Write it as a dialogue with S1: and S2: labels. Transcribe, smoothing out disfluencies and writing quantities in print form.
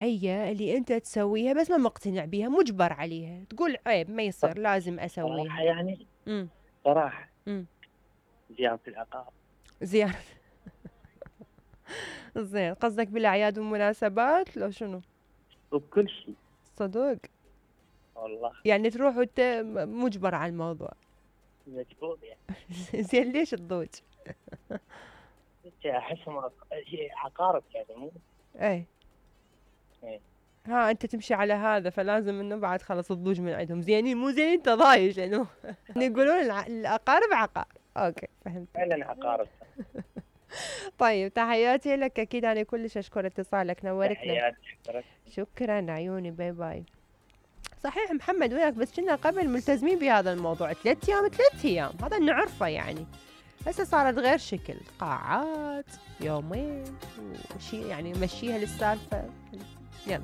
S1: هي اللي انت تسويها بس ما مقتنع بيها، مجبر عليها، تقول عيب ما يصير لازم
S2: صراحة
S1: اسويها.
S2: يعني،
S1: امم.
S2: صراحة
S1: امم.
S2: زيارة العقار.
S1: زين. زين، قصدك بالاعياد والمناسبات لو شنو؟
S2: وبكل شيء.
S1: صدق.
S2: والله
S1: يعني تروح وانت مجبر على الموضوع.
S2: مجبور يعني.
S1: زين، ليش تضوج؟
S2: احسهم شيء عقارب يعني مو.
S1: ايه.
S2: إيه.
S1: ها انت تمشي على هذا، فلازم انه بعد خلص تضوج من عندهم، زينين مو زينين انت ضايج يعني. يقولون الاقارب عقار. اوكي فهمتك.
S2: فعلا عقارب.
S1: طيب تحياتي لك، اكيد انا كلش اشكر اتصالك، نورتنا.
S2: تحياتي شكرا.
S1: شكرا عيوني، باي باي. صحيح محمد وياك، بس كنا قبل ملتزمين بهذا الموضوع 3 ايام 3 ايام، هذا نعرفه يعني. هسه صارت غير شكل، قاعات يومين وشي يعني، مشيها للسالفة. يلا.